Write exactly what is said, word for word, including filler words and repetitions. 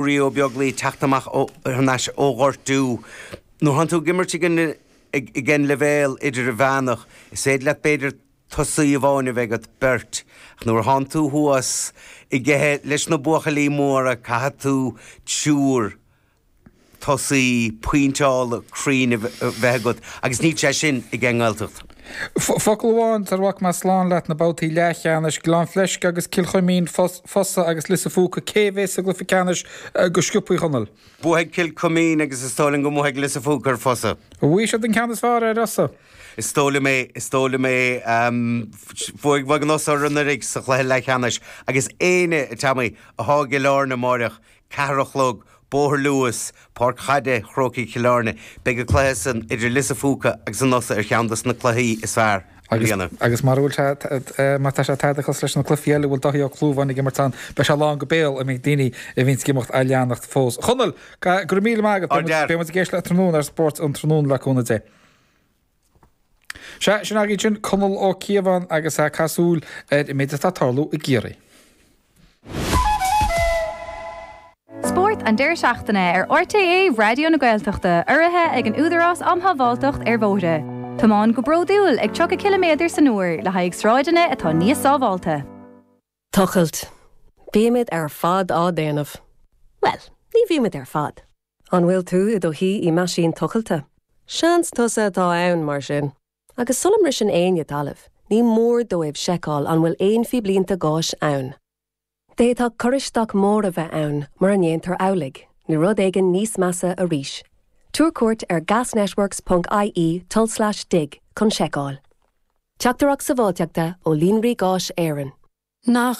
Ruairí Ó Beaglaoich teacht amach thar n-ais ó ghortú. Nuair atánn tú ag imirt ag an ag an leibhéal idirmheánach, is féidir leat b'fhéidir tosaí amháin a bheith agat, beirt, ach nuair atánn tú thuas i gcluiche leis na buachaillí móra caithfidh tú triúr tosaí pointeála cruinn a bheith agat agus níl sé sin ag an nGaeltacht. Focal amháin sar a bhfágfaidh mé slán leat na babhtaí leathcheannais, Gleann Fleisce agus Cill Chuimín, Fosa agus Lios a' Phúca, cé a bheas sa gcluiche ceannais go sciobtha, a Chonaill? Buafaidh Cill Chuimín agus is dóigh liom go mbuafaidh Lios a' Phúca ar Fosa. Bhuaigh siad an ceann is fearr ar Fhosa. Is dóigh liom é, is dóigh liom é. Bhuaigh bhuaigh an Fhosa orthu anuraidh sa chluiche leathcheannais agus éinne, a Tommy, athá i gCill Airne amáireach, ceathair a chlog, Bóthar Luas, Páirc Chaide Chrócaigh Chill Airne. Beidh an cluiche san idir Lios a' Phúca agus an Fhosa ar cheann dos na cluichí is fearr i mbliana. Agus mar a bhfuil sé, má tá sé tada cosúil leis na cluichí eile a bhfuil Dáithí Ó Clúmháin ag imirt ann, beidh sé lán go béal a mbeidh daoine a bhíonns ag imeacht á leanacht fós. A Chonaill, go raibh míle maith agat. Beidh muid ag éisteacht leat tráthnóna ar Spórt an Tráthnóna le cúnamh Dé. Sea, sin agaibh sin Conall Ó Cíobháin agus é ag caitheamh súil ar an méid atá ag tarlú i gCiarraí. Spórt an deireadh seachtaine ar RTÉ Raidió na Gaeltachta, urraithe ag an Údarás um Shábháilteacht ar Bhóithre. Tiomáin go bródúil ag tríocha ciliméadar san uair le haghaidh sráideanna atá níos sábháilte. Tochailt. Bímid ar fad á déanamh. Bhuel, ní bhímid ar fad. An bhfuil tú i do shuí i meaisín tochailte? Seans tusa atá ann, mar sin. Agus sula mbriseann éinne talamh, ní mór dóibh seiceáil an bhfuil aon phíblínte gáis ann. D'fhéadfadh cur isteach mór a bheith ann mura ndéantar amhlaidh, nó rud éigin níos measa arís. Tabhair cuairt ar gasnetworks ponc ie tulslais dig chun seiceáil. Teachtaireacht sábháilteachta ó Líonraí Gáis Éireann. Nach